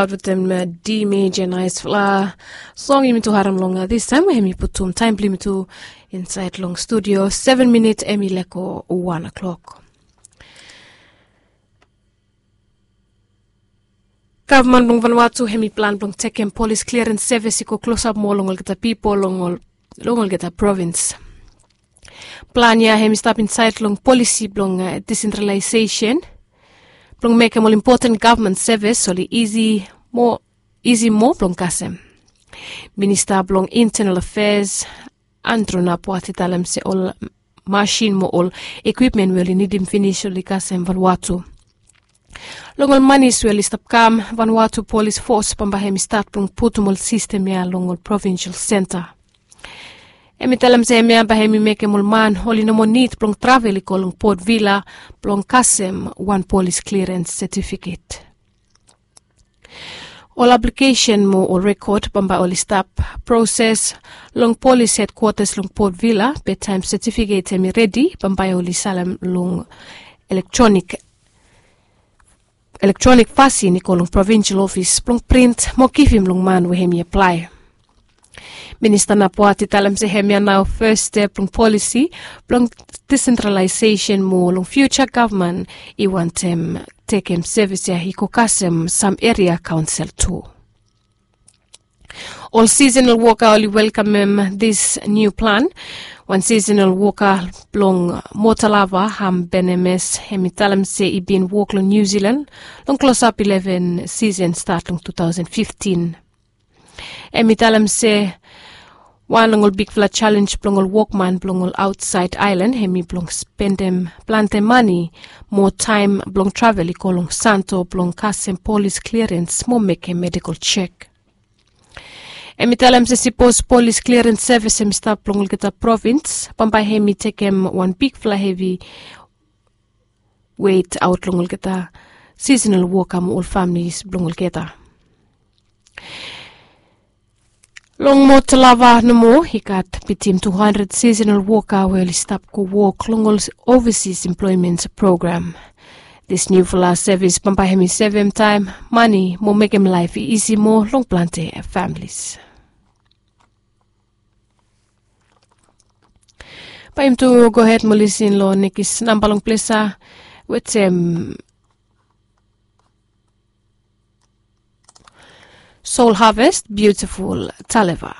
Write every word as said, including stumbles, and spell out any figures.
Aut wetem D major naispela song yumi tu harim long distaem we hemi putum taem blong yumi tu insaed long studio. Seven minit hemi leko wan o'clock. Gavman blong Vanuatu hemi plan blong tekem polis kliarens sevis i go klosap moa long olgeta pipol long olgeta provins. Plan ya hemi stap insaed long polisi blong disentralaesesen blong mekem ol impoten gavman sevis oli isi moa blong kasem. Minista blong intenal afeas Andrew Napuat i talem se ol masin mo ol ekwipmen we oli nidim finis oli kasem Vanuatu. Long ol manis we oli stap kam, Vanuatu polis fos bambae hemi stat blong putum ol sistem ya long ol provinsel senta. Hemi talem se hemia bae hemi mekem ol man oli no moa nid blong travel i go long Port Vila blong kasem wan polis kliarens setifiket. Ol aplikesen mo ol rekod bambae oli stap proses long polis hedkwatas long Port Vila be taem setifiket hemi redi bambae oli salem long elektronik fasin i go long provinsel ofis blong print mo givim long man we hemi aplae. Minista Napuat i talem se hemia nao fes step long polisi blong disentralaesesen mo long fiuja gavman i wantem tekem sevis ya i go kasem sam eria kaonsel tu. Ol sisenal woka oli welkamem dis niu plan. Wan sisenal woka blong Motalava Ham Benemes hemi talem se i bin wok long Niu Silan long klosap ileven sisen stat long tu taosen fiftin. Hemi talem se wan long ol bigfala jalenj blong ol wokman blong ol aotsaed aelan hemi blong spendem plante mane mo taem blong travel i go long Santo blong kasem polis kliarens mo mekem medikol jek. Hemi talem se sipos polis kliarens sevis hemi stap long olgeta provins bambae hemi tekem wan bigfala hevi wet aot long olgeta sisenal woka mo ol famili blong olgeta. Long Motalava nomo i gat bitim tu handred sisenal woka we oli stap go wok long ol ovasis emploemen program. Dis niufala sevis bambae hemi sevem taem, mane mo mekem laef i isi moa long plante familis. Bae yumi tu gohed mo lisin long nekis namba long ples ya wetem Soul Harvest, Beautiful Taleva.